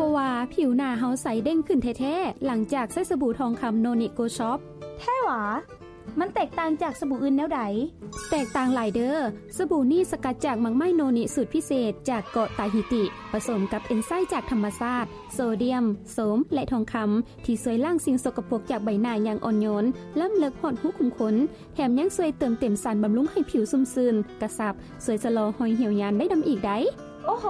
ບໍ່ວ່າຜິວໜ້າເຮົາໃສເດັ່ງຂຶ້ນແທ້ໆ ຫຼັງຈາກໃຊ້ສະບູທອງຄຳໂນນິໂກຊອບ. ແທ້ຫວາ? ມັນແຕກຕ່າງຈາກສະບູອື່ນແນວໃດ? ແຕກຕ່າງຫຼາຍເດີ້. ສະບູນີ້ສະກັດຈາກໝາກໄມ້ໂນນິສູດພິເສດຈາກເກາະຕາຮີຕິ ປະສົມກັບເອັນໄຊຈາກທຳມະຊາດ, ໂຊດຽມ, ໂສມ ແລະ ທອງຄຳ ທີ່ຊ່ວຍລ້າງສິ່ງສົກກະປົກຈາກໃບໜ້າຢ່າງອ່ອນໂຍນ, ລ້ຳເລິກຮອດຮູຂຸມຂົນ, ແຖມຍັງຊ່ວຍເຕີມເຕັມສານບຳລຸງໃຫ້ຜິວຊຸ່ມຊື່ນ, ກະຊັບ, ຊ່ວຍຊະລໍຮອຍຫ່ຽວຍານໄດ້ນຳອີກໃດ໋. ໂອ້ໂຫ!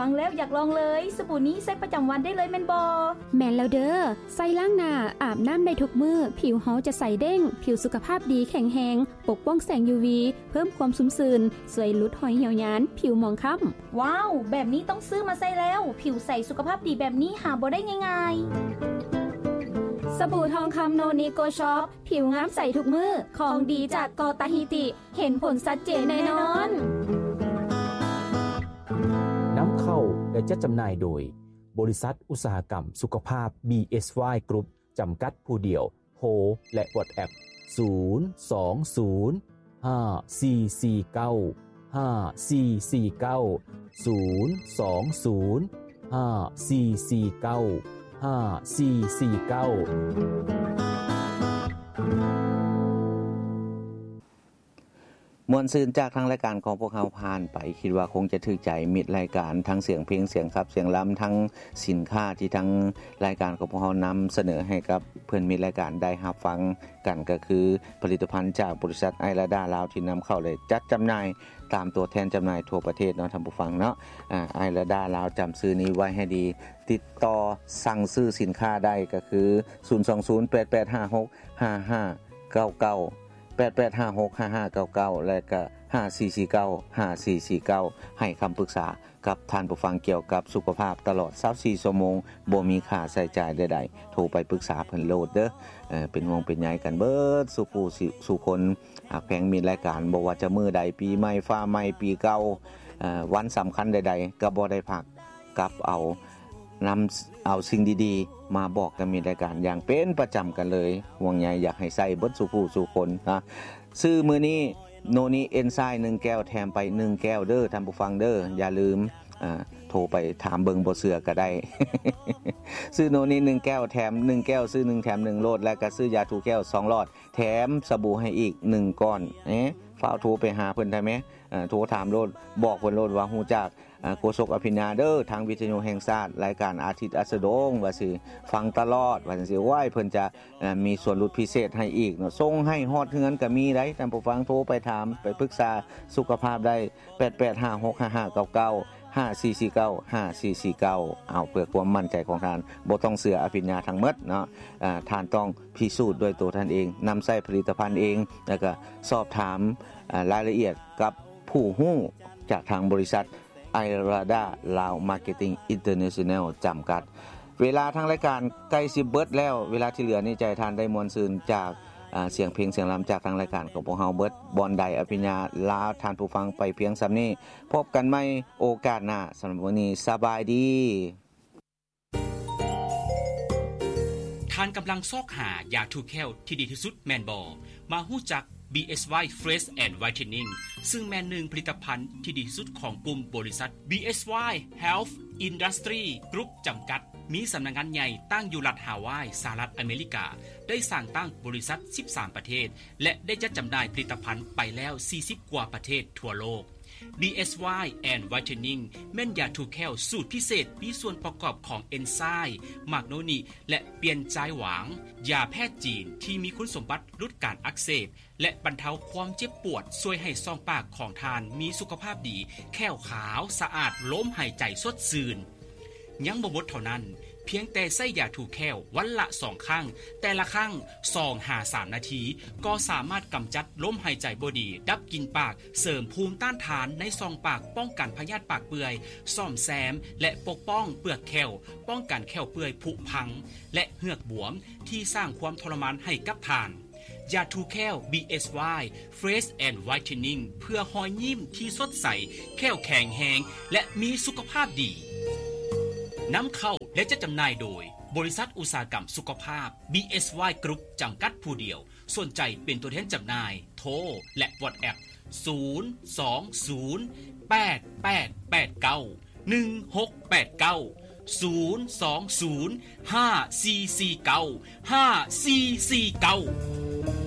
ຟັງແລ້ວຢາກລອງເລີຍ. ສະບູນີ້ໃຊ້ປະຈຳວັນໄດ້ເລີຍແມ່ນບໍ່? ແມ່ນແລ້ວເດີ້. ໃຊ້ລ້າງໜ້າ, ອາບນ້ຳໄດ້ທຸກມື້, ຜິວເຮົາຈະໃສເດັ່ງ, ຜິວສຸຂະພາບດີ, ແຂງແຮງ, ປົກປ້ອງແສງຢູວີ, ເພີ່ມຄວາມຊຸ່ມຊື່ນ, ຊ່ວຍຫຼຸດຮອຍຫ່ຽວຍານ, ຜິວໝອງຄ້ຳ. ວ້າວ! ແບບນີ້ຕ້ອງຊື້ມາໃຊ້ແລ້ວ. ຜິວໃສສຸຂະພາບດີແບບນີ້ຫາບໍ່ໄດ້ງ່າຍໆ. ສະບູທອງຄຳໂນນິໂກຊອບ, ຜິວງາມໃສທຸກມື້, ຂອງດີຈາກເກາະຕາຮີຕິ. ເຫັນຜົນຊັດເຈນແນ່ນອນ. ນຳເຂົ້າ ແລະ ຈັດຈຳໜ່າຍໂດຍ ບໍລິສັດອຸດສາຫະກຳສຸຂະພາບ ບີເອສວາຍ ກຣຸບ ຈຳກັດຜູ້ດຽວ. ໂທ ແລະ ວັອດແອັບ ສູນ ສອງ ສູນ ຫ້າ ສີ່ ສີ່ ເກົ້າ ຫ້າ ສີ່ ສີ່ ເກົ້າ ສູນ ສອງ ສູນ ຫ້າ ສີ່ ສີ່ ເກົ້າ ຫ້າ ສີ່ ສີ່ ເກົ້າ. ມ່ວນຊື່ນຈາກທາງລາຍການຂອງພວກເຮົາຜ່ານໄປ, ຄິດວ່າຄົງຈະຖືກໃຈມິດລາຍການ ທັງສຽງເພງ, ສຽງຂັບ, ສຽງລຳ, ທັງສິນຄ້າທີ່ທາງລາຍການຂອງພວກເຮົານຳສະເໜີໃຫ້ກັບເພື່ອນມິດລາຍການໄດ້ຮັບຟັງກັນ, ກໍຄືຜະລິດຕະພັນຈາກບໍລິສັດໄອລາດາລາວ ທີ່ນຳເຂົ້າ ແລະ ຈັດຈຳໜ່າຍຕາມຕົວແທນຈຳໜ່າຍທົ່ວປະເທດເນາະ ທ່ານຜູ້ຟັງເນາະ. ອາ ໄອລາດາລາວ ຈຳຊື່ນີ້ໄວ້ໃຫ້ດີ, ຕິດຕໍ່ສັ່ງຊື້ສິນຄ້າໄດ້ ກໍຄື ສູນ ສອງ ສູນ ແປດ ແປດ ຫ້າ ຫົກ ຫ້າ ຫ້າ ເກົ້າ ເກົ້າ ແປດ ແປດ ຫ້າ ຫົກ ຫ້າ ຫ້າ ເກົ້າ ເກົ້າ ແລະ ກໍ ຫ້າ ສີ່ ສີ່ ເກົ້າ ຫ້າ ສີ່ ສີ່ ເກົ້າ ໃຫ້ຄຳປຶກສາກັບທ່ານຜູ້ຟັງກ່ຽວກັບສຸຂະພາບຕະຫຼອດຊາວສີ່ຊົ່ວໂມງ ບໍ່ມີຄ່າໃຊ້ຈ່າຍໃດໆ. ໂທໄປປຶກສາເພິ່ນໂລດເດີ້. ເປັນຫ່ວງເປັນໃຍກັນເບິດສູ່ຜູ້ ສູ່ຄົນ. ຫາກແພງມິດລາຍການ ບໍ່ວ່າຈະມື້ໃດ, ປີໃໝ່, ຟ້າໃໝ່, ປີເກົ່າ, ວັນສຳຄັນໃດໆ ກໍບໍ່ໄດ້ພັກ. ກັບເອົາ ນຳເອົາສິ່ງດີໆມາບອກກັບມິດລາຍການຢ່າງເປັນປະຈຳກັນເລີຍ. ຫ່ວງໃຍຢາກໃຫ້ໃຊ້ເບິດສູ່ຜູ້ສູ່ຄົນນະ. ຊື້ມື້ນີ້ໂນນິເອັນໄຊໜຶ່ງແກ້ວ ແຖມໄປໜຶ່ງແກ້ວເດີ້ ທ່ານຜູ້ຟັງເດີ້. ຢ່າລືມ ອາ ໂທໄປຖາມເບິ່ງ ບໍ່ເຊື່ອກໍໄດ້. ຊື້ໂນນິໜຶ່ງແກ້ວ ແຖມໜຶ່ງແກ້ວ, ຊື້ໜຶ່ງແຖມໜຶ່ງໂລດ. ແລ້ວກໍຊື້ຢາຖູແຂ້ວສອງຫຼອດ ແຖມສະບູໃຫ້ອີກໜຶ່ງກ້ອນ. ເອ ຟ້າວໂທໄປຫາເພິ່ນໄດ້ແມ. ເອີ ໂທຖາມໂລດ, ບອກເພິ່ນໂລດວ່າຮູ້ຈັກ ເອີ ໂຄສົກອະພິນຍາເດີ້ ທາງວິທະຍຸແຫ່ງຊາດ, ລາຍການອາທິດອັດສະດົງ ວ່າຊິຟັງຕະຫຼອດ ວ່າຊັ້ນຊິ. ໂອ້ຍ ເພິ່ນຈະ ເອີ ມີສ່ວນຫຼຸດພິເສດໃຫ້ອີກເນາະ. ສົ່ງໃຫ້ຮອດເຮືອນກໍມີໄດ໋ ທ່ານຜູ້ຟັງ. ໂທໄປຖາມ, ໄປປຶກສາສຸຂະພາບໄດ້ ແປດ ແປດ ຫ້າ ຫົກ ຫ້າ ຫ້າ ເກົ້າ ເກົ້າ ຫ້າ ສີ່ ສີ່ ເກົ້າ ຫ້າ ສີ່ ສີ່ ເກົ້າ. ເອົາ ເພື່ອຄວາມໝັ້ນໃຈຂອງທ່ານ, ບໍ່ຕ້ອງເຊື່ອອະພິນຍາທັງໝົດເນາະ. ອາ ທ່ານຕ້ອງພິສູດດ້ວຍຕົວທ່ານເອງ, ນຳໃຊ້ຜະລິດຕະພັນເອງ, ແລ້ວກໍສອບຖາມ ອາ ລາຍລະອຽດກັບຜູ້ຮູ້ຈາກທາງບໍລິສັດ ໄອລາດາ ລາວ ມາເກັດຕິງ ອິນເຕີເນຊັນແນລ ຈຳກັດ. ເວລາທາງລາຍການໃກ້ຊິເບິດແລ້ວ, ເວລາທີ່ເຫຼືອນີ້ຈະໃຫ້ທ່ານໄດ້ມ່ວນຊື່ນຈາກ ອາ ສຽງເພງສຽງລຳຈາກທາງລາຍການຂອງພວກເຮົາເບິດ. ບ່ອນໃດອະພິນຍາລາທ່ານຜູ້ຟັງໄປພຽງສ່ຳນີ້. ພົບກັນໃໝ່ໂອກາດໜ້າ. ສຳລັບມື້ນີ້ ສະບາຍດີ. ທ່ານກຳລັງຊອກຫາຢາຖູແຂ້ວທີ່ດີທີ່ສຸດແມ່ນບໍ່? ມາຮູ້ຈັກ ບີເອສວາຍ Fresh and Whitening ຊຶ່ງແມ່ນໜຶ່ງຜະລິດຕະພັນທີ່ດີທີ່ສຸດຂອງກຸ່ມບໍລິສັດ ບີເອສວາຍ Health Industry Group ຈຳກັດ, ມີສຳນັກງານໃຫຍ່ຕັ້ງຢູ່ລັດຮາວາຍ, ສະຫະລັດອາເມລິກາ, ໄດ້ສ້າງຕັ້ງບໍລິສັດສິບສາມປະເທດ ແລະ ໄດ້ຈັດຈຳໜ່າຍຜະລິດຕະພັນໄປແລ້ວສີ່ສິບກວ່າປະເທດທົ່ວໂລກ. ບີເອສວາຍ Whitening ແມ່ນຢາຖູແຂ້ວສູດພິເສດ, ມີສ່ວນປະກອບຂອງເອັນໄຊມ, ໝາກໂນນິ ແລະ ປຽນຈາຍຫວາງ, ຢາແພດຈີນທີ່ມີຄຸນສົມບັດຫຼຸດການອັກເສບ ແລະ ບັນເທົາຄວາມເຈັບປວດ, ຊ່ວຍໃຫ້ຊ່ອງປາກຂອງທ່ານມີສຸຂະພາບດີ, ແຂ້ວຂາວ, ສະອາດ, ລົມຫາຍໃຈສົດຊື່ນ. ຍັງບໍ່ໝົດເທົ່ານັ້ນ, ພຽງແຕ່ໃຊ້ຢາຖູແຂ້ວວັນລະສອງຄັ້ງ, ແຕ່ລະຄັ້ງສອງຫາສາມນາທີ, ກໍສາມາດກຳຈັດລົມຫາຍໃຈບໍ່ດີ, ດັບກິ່ນປາກ, ເສີມພູມຕ້ານທານໃນຊ່ອງປາກ, ປ້ອງກັນພະຍາດປາກເປື່ອຍ, ສ້ອມແຊມ ແລະ ປົກປ້ອງເປືອກແຂ້ວ, ປ້ອງກັນແຂ້ວເປື່ອຍຜຸພັງ ແລະ ເຫືອກບວມທີ່ສ້າງຄວາມທໍລະມານໃຫ້ກັບທ່ານ. ຢາຖູແຂ້ວ ບີເອສວາຍ Fresh and Whitening ເພື່ອຮອຍຍິ້ມທີ່ສົດໃສ, ແຂ້ວແຂງແຮງ ແລະ ມີສຸຂະພາບດີ. ນຳເຂົ້າ ແລະ ຈັດຈຳໜ່າຍໂດຍ ບໍລິສັດອຸດສາຫະກຳສຸຂະພາບ ບີເອສວາຍ ກຣຸບ ຈຳກັດຜູ້ດຽວ. ສົນໃຈເປັນຕົວແທນຈຳໜ່າຍ, ໂທ ແລະ ວັອດແອັບ ສູນ ສອງ ສູນ ແປດ ແປດ ແປດ ເກົ້າ ໜຶ່ງ ຫົກ ແປດ ເກົ້າ. ສູນສອງສູນ ຫ້າສີ່ສີ່ເກົ້າ ຫ້າສີ່ສີ່ເກົ້າ.